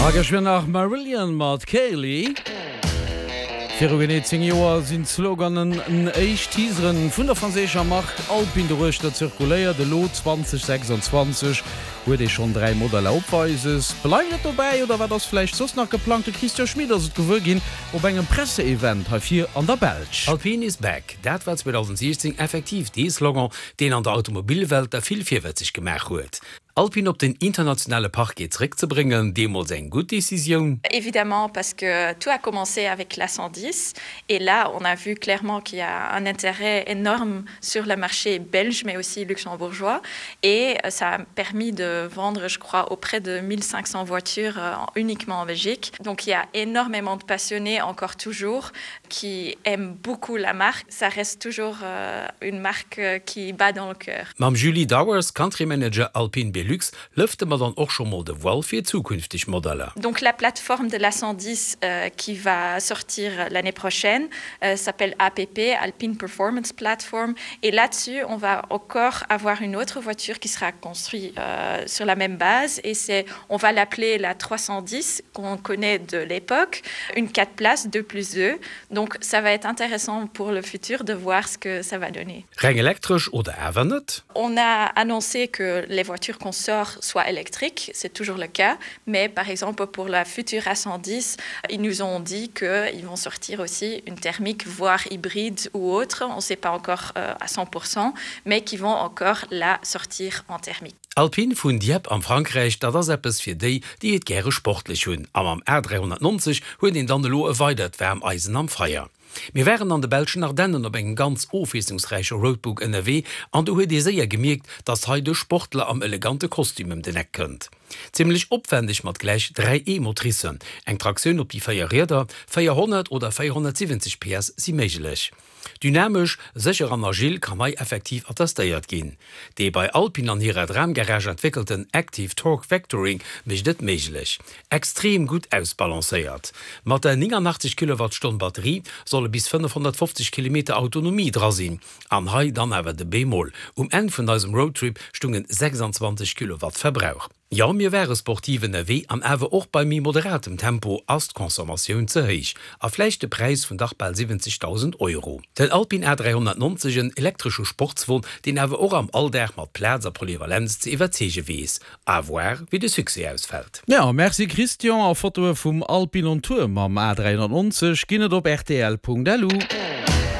A geschwënn nach Marillion mat Kayleigh. Viru genee 10 Joer sinn d'Sloganen n éischt Teaseren vun der franséischer Mark Alpine doruechter zirkuléiert. Elo 2026 huet ee schonn 3 Modeller opweises. Bleift et dobäi oder wat ass vläicht soss nach geplangt? De Christian Schmit ass et gewuer ginn op engem Presseevent hei vir an der Belsch. Alpine is back, dat war 2016 effektiv dee Slogan, deen an der Automobilwelt der vill virwëtzeg gemaach huet. Alpine op den internationale Parquet zeréckzebréngen, deemools eng gutt Decisioun? Évidemment, parce que tout a commencé avec la 110 et là on a vu clairement qu'il y a un intérêt énorme sur le marché belge mais aussi luxembourgeois et ça a permis de vendre je crois auprès de 1500 voitures uniquement en Belgique. Donc il y a énormément de passionnés encore toujours qui aiment beaucoup la marque. Ça reste toujours une marque qui bat dans le cœur. Mam Julie Dowers, Country Manager Alpine Belux, lëfte mer dann och scho mol de Voile fir zukünfteg Modeller. Donc la plateforme de la 110 qui va sortir l'année prochaine s'appelle APP, Alpine Performance Platform et là-dessus on va encore avoir une autre voiture qui sera construite sur la même base et c'est on va l'appeler la 310 qu'on connaît de l'époque, une 4 places 2 plus 2 donc ça va être intéressant pour le futur de voir ce que ça va donner. Reng elektresch oder awer net? On a annoncé que les voitures qu'on sort soient électriques, c'est toujours le cas, mais par exemple pour la future A110, ils nous ont dit qu'ils vont sortir aussi une thermique voire hybride ou autre, on ne sait pas encore euh, à 100%, mais qui vont encore la sortir en thermique. Alpine vun Dieppe am Frankräich, dat ass eppes fir déi, déi et gäre sportlech hunn. A mam A390 huet een dann elo e weidert waarm Eisen am Feier. Mir waren an de belschen Ardennen op engem ganz ofwiesslungsräiche Roadbook ënnerwee an do huet ee séier gemierkt, dass hei de Sportler am elegante Kostüm ëm den Eck kënnt. Zimmlech opwändeg mat gläich 3 E-Motricen, eng Traktioun op déi 4 Rieder, 400 oder 470 PS si méiglech. Dynamesch, sécher an agil kann hei effektiv attestéiert ginn. Dee bei Alpine an hirer Dramgarage entwéckelten Active Torque Vectoring mécht et méiglech. Extrem gutt ausbalancéiert. Mat der 89 Kilowattstonn Batterie solle bis 550 Kilometer Autonomie dra sinn. An hei dann awer de Bémol, Um Enn vun eisem Roadtrip stungen 26 Kilowatt Verbrauch. Jo, mir ware sportiv ënnerwee an awer och bei méi moderatem Tempo ass d'Consommatioun ze héich. A vläicht de Präis vun dach bal 70.000 Euro. Den Alpine A390, en elektresche Sportswon, deen awer och am Alldag mat Plaz a Polyvalenz ze iwwerzeege weess. À voir, wéi de Succès ausfält. Jo, merci Christian, a Fotoe vum Alpine on Tour mam A390 ginn et op rtl.lu.